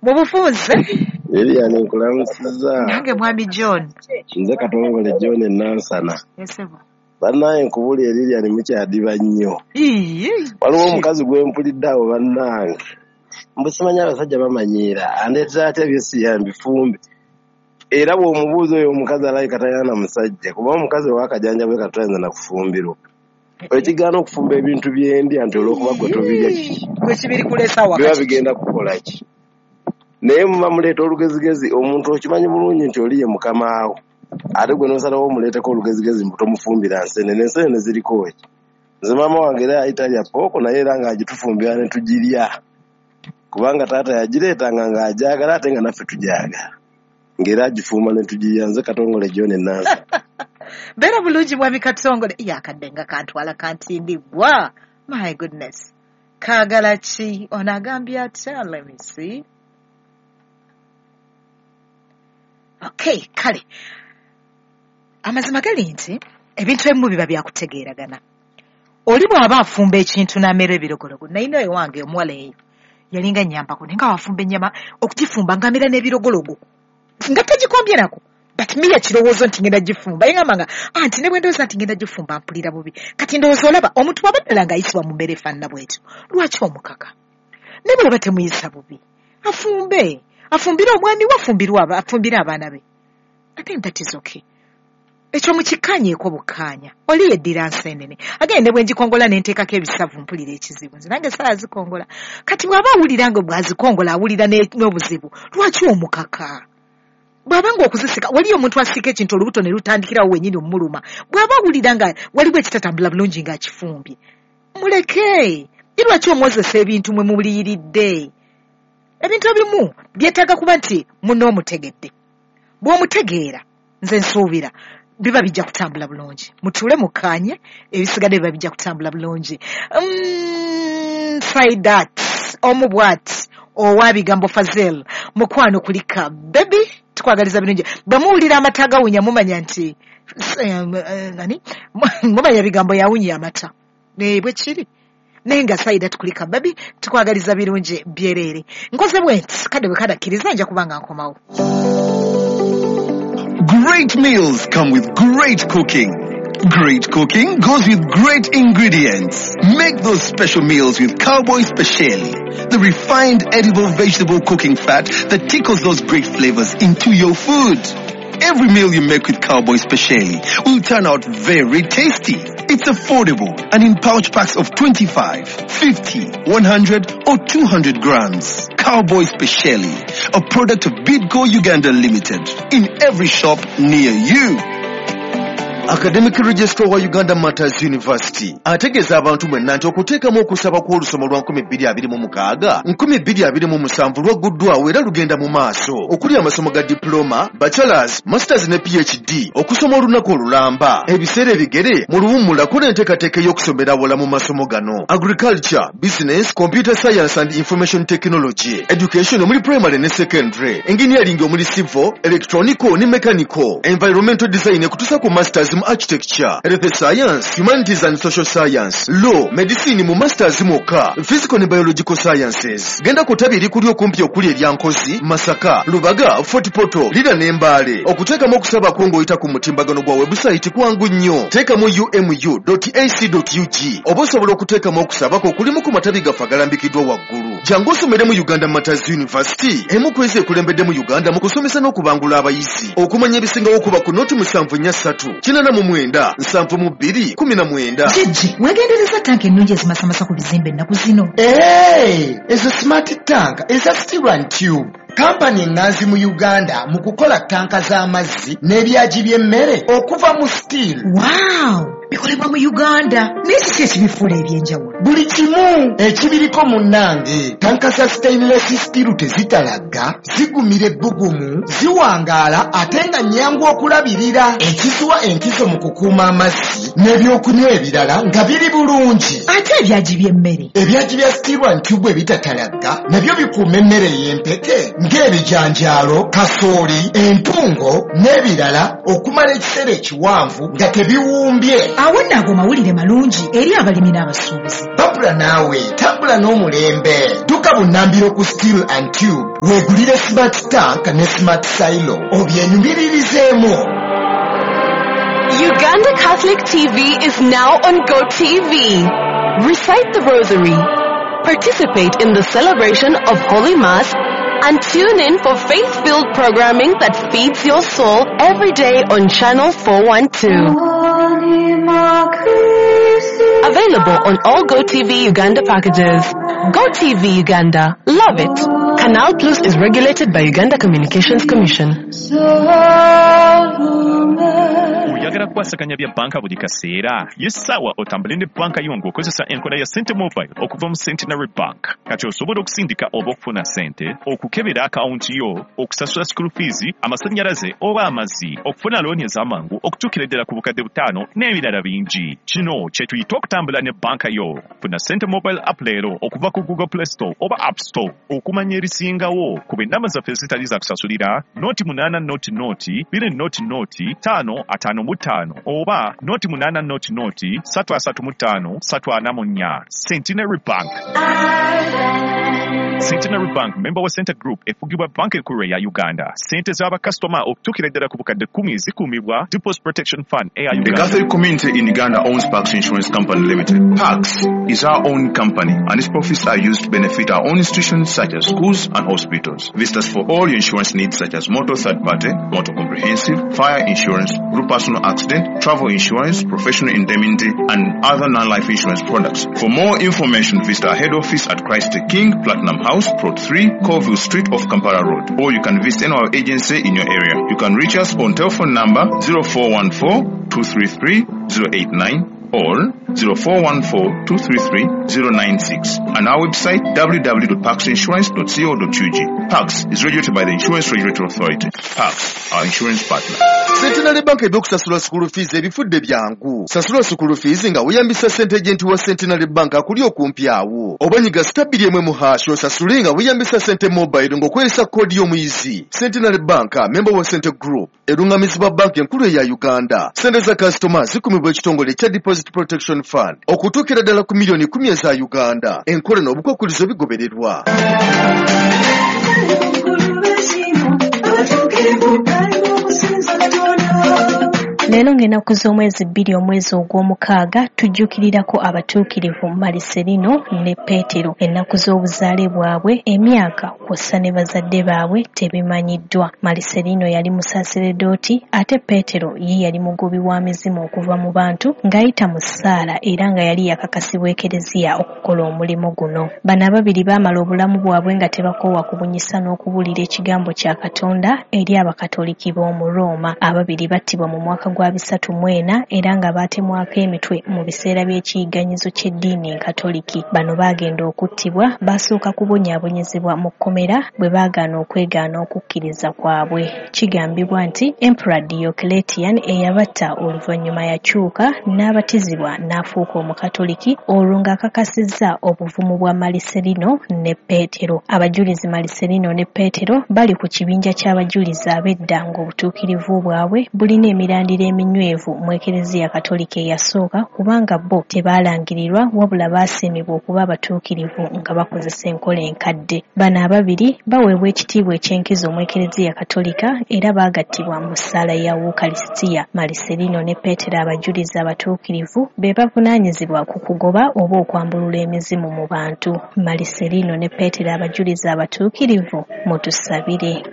Mu bufunze. Lilian, nkulamusizza. Nange mwami John. Nze Katongole John Nansana. Esebo. Bannange nkubulire Lilian, mukyadiba nnyo. Waliwo omukazi gwe mpulidde awo bannange. Mbu simanyi abasajja bamanyiira, andeetera atya byesiya mbifumbe. Era bw'omubuuza oyo omukazi alabika talina na musajja, kuba omukazi ow'akajanja bwe katayinza na kufumbirwa. Ekigaana okufumba ebintu byendya nti olw'okuba gwe tobirya kiki? Gwe kibiri kuleesa waka Biba kiki? bigenda kukola ki? Naye muba muleeta olugezigezi, omuntu okimanyi bulungi nti oli ye mukamaawo. Ate gwe n'osalawo omuleeteko olugezigezi mbu tomufumbira nsenene, ensenene ziriko ki? Nze maama wange era yali talya ppooko naye era ng'agitufumbira ne tugirya. Kubanga taata yagireetanga ng'agyagala ate nga naffe tugyagala. Ng'era agifumba ne tugirya. Nze Katongole John Nansa. Beera bulungi mwami Katongole. Ye akadde nga kantwala kantindigwa. My goodness. Kaagala ki? Ono agambye atya? Let me see. Okay, kale. Amazima gali nti ebintu ebimu biba byakutegeeragana. Oli bw'aba afumba ekintu n'amera ebirogologo, nalina ewange omuwala eyo yalinga nnyambako naye nga wafumba ennyama okugifumba ng'amera n'ebirogologo nga tagikombye nako, but me yakirowoozo nti ngenda gifumba. Ye ngamba nga anti ne bwe ndowooza nti ngenda gifumba mpulira bubi. Kati ndowooza olaba omuntu bw'aba ddala ng'ayisibwa mu mbeera efaanana bw'etyo, lwaki omukaka? Ne bw'oba temuyisa bubi, afumbe, afumbire omwami we, afumbire abaana be. I think that is okay. Ekyo mukikkaanyeeko bukkaanya. Oli yeddira nseenene. Agende ne bwe ngikongola ne nteekako ebisavu mpulira ekizibu. Nze nange saala zikongola. Kati bw'aba awulira nga bw'azikongola awulira n'obuzibu, lwaki omukaka? Bw'aba ng'okuzisika, waliyo omuntu asika ekintu olubuto ne lutandikirawo wennyini omuluma. Bw'aba awulira nga waliwo ekitatambula bulungi ng'akifumbye, muleke. Ye lwaki omwozesa ebintu mwe muliyiridde? Ebintu ebimu byetaaga kuba nti munoomutegedde. Bw'omutegeera, nze nsuubira biba bijja kutambula bulungi. Mutuule mukkaanye, ebisigadde biba bijja kutambula bulungi. Saidat, omu bw'ati, owa bigambo Fazel, mukwano kulika baby, tukwagaliza birungi. Bwe muwulira amata gawunya mumanya nti nani? Mumanya bigambo yawunya amata. Bwe kiri. Naye nga Saidat kulika baby, tukwagaliza birungi byereere. Nkoze bwe nti, kadde bwe kadakkiriza nja kuba nga nkomawo. Great meals come with great cooking. Great cooking goes with great ingredients. Make those special meals with Cowboy Speciale, the refined edible vegetable cooking fat that tickles those great flavors into your food. Every meal you make with Cowboy Speciale will turn out very tasty. It's affordable and in pouch packs of 25, 50, 100 or 200 grams. Cowboy Speciale, a product of Bidco Uganda Limited, in every shop near you. Academic Registrar wa Uganda Martyrs University ategeeza abantu mwenna nti okuteekamu okusaba kw'olusoma lwa 2026 2027 lwagguddwawo era lugenda mu maaso okuli amasomo ga diploma, bachelors, masters ne PhD okusoma olunaku olulamba ebiseera ebigere mu luwummula kola enteekateeka ey'okusomera awala mu masomo gano: agriculture, business, computer science and information technology, education omuli primary ne secondary, engineering omuli civil, electronical ne mechanical, environmental design ekutuusa ku masters mu architecture, health science, humanities and social science, law, medicine mu masters mwokka, physical ne biological sciences. Genda ku ttabi erikuli okumpi okuli erya Nkozi, Masaka, Lubaga, Fort Portal, Lira ne Mbale. Okuteekamu okusaba kwo ng'oyita ku mutimbagano gwa website kwangu nnyo. Teekamu umu.ac.ug oba osobola okuteekamu okusaba kwo kulimu ku matabi gaffe agalambikiddwa waggulu. Jangu osomere mu Uganda Martyrs University, emu ku ezo ekulembedde mu Uganda mu kusomesa n'okubangula abayizi. Okumanya ebisingawo kuba ku noti 743 89 72 19. Jjajja, weegendereza tanka ennungi ezimasamasa ku bizimbe ennaku zino. Ezo smart tank eza steel and tube. Kampani eŋŋanzi mu Uganda mu kukola tanka z'amazzi n'ebyagi by'emmere okuva mu steel. Wow! Bikolebwa mu Uganda. Naye kiki ekibifuula eby'enjawulo? Buli kimu ekibiriko munnange. Tanka za stainless steel tezitalagga, zigumira ebbugumu, ziwangaala ate nga nnyangu okulabirira. Ekiziwa enkizo mu kukuuma amazzi n'ebyokunywa ebirala nga biri bulungi. Ate ebyagi by'emmere? Ebyagi bya steel and tube ebitatalagga nabyo bikuuma emmere ey'empeke Ng'ebijanjaalo, kasooli, entungo n'ebirala okumala ekiseera ekiwanvu nga tebiwumbye. Awo nno ago mawulire malungi eri abalimi n'abasuubuzi. Babula naawe tambula n'omulembe. Dduka bunnambiro ku Steel and Tube weegulire smart tank ne smart silo obyenyumiririzeemu. Uganda Catholic TV is now on GoTV. Recite the Rosary, participate in the celebration of Holy Mass, and tune in for faith-filled programming that feeds your soul every day on Channel 412. Available on all GoTV Uganda packages. GoTV Uganda. Love it. Canal Plus is regulated by Uganda Communications Commission. Oyagala kukwasaganya bya banka buli kaseera? Ye ssaawa otambule ne banka yo ng'okozesa enkola ya Sente Mobile okuva mu Centenary Bank. Kati osobola okusindika oba okufuna sente, okukebera akawunti yo, okusasula school fees, amasannyalaze oba amazzi, okufuna looni ez'amangu okutuukira ddala ku 5,000 n'ebirala bingi. Kino kye tuyita okutambula ne banka yo. Funa Sente Mobile app leero okuva ku Google Play Store oba App Store. Okumanya ebisingawo, kuba ennamba zaffe ezitali za kusasulira 0 8 0 0 2 0 0 5 55 oba 0 8 0 3 35 344. Centenary Bank. Centenary Bank, member wa Sente Group, efugibwa banka enkulu eya Uganda. Sente z'abakasitoma okutuukira ddala ku 10,000 zikuumibwa Deposit Protection Fund eya The Uganda. Catholic community in Uganda owns Pax Insurance Company Limited. Pax is our own company and its profits are used to benefit our own institutions such as schools and hospitals. Visit us for all your insurance needs such as motor third party, motor comprehensive, fire insurance, group personal accident, travel insurance, professional indemnity, and other non-life insurance products. For more information, visit our head office at Christ the King, Platinum House, Plot 3, Colville Street off Kampala Road. Or you can visit any of our agency in your area. You can reach us on telephone number 0414 233 089 or 0414 233 096 and our website www.paxinsurance.co.ug. Pax is regulated by the Insurance Regulatory Authority. Pax, our insurance partner. Centenary Bank ebyokusasula school fees ebifudde byangu. Sasula school fees nga weeyambisa sente agent wa Centenary Bank akuli okumpi awo, oba nyiga *2 1 hash osasule nga weeyambisa Sente Mobile ng'okozesa koodi y'omuyizi. Centenary Bank, member wa Sente Group, erungamizibwa banka enkulu eya Uganda. Sente za kasitoma zikumibwa ekitongole ekya Deposit Protection Fund okutuukira ddala ku 10,000,000 eza Uganda. Enkola n'obukwakkulizo bigobererwa. Leero ng'ennaku z'omwezi 2 omwezi ogw'omukaaga tujjukirirako abatuukirivu Mariserino ne Peetero. Ennaku z'obuzaale bwabwe, emyaka kw'ossa ne bazadde baabwe tebimanyiddwa. Mariserino yali musaseredooti ate Peetero ye yali mugobi wa mizimu okuva mu bantu ng'ayita mu ssaala era nga yali yakakasibwa Ekereziya okukola omulimu guno. Bano ababiri baamala obulamu bwabwe nga tebakoowa kubunyisa n'okubuulira ekigambo kya Katonda eri Abakatoliki b'omu Rooma. Ababiri battibwa mu mwaka gwa 304 era nga baatemwako emitwe mu biseera by'ekiyigganyizo ky'eddiini enkatoliki. Bano baagenda okuttibwa baasooka kubonyaabonyezebwa mu kkomera bwe baagaana okwegaana okukkiriza kwabwe. Kigambibwa nti Emperor Diocletian eyabatta oluvannyuma yakyuka n'abatizibwa n'afuuka omukatoliki olwo ng'akakasizza obuvumu bwa Mariserino ne Peetero. Abajulizi Mariserino ne Peetero bali ku kibinja ky'abajulizi ab'edda ng'obutuukirivu bwabwe bulina emirandira eminywevu mu Ekereziya Katolika eyasooka kubanga bo tebaalangirirwa wabula baasiimibwa okuba abatuukirivu nga bakozesa enkola enkadde. Bano ababiri baweebwa ekitiibwa eky'enkizo mu Ekereziya Katolika era baagattibwa mu ssaala ya Wukalisitiya. Mariserino ne Peetero abajulizi abatuukirivu be bavunaanyizibwa ku kugoba oba okwambulula emizimu mu bantu. Mariserino ne Peetero abajulizi abatuukirivu, mutusabire.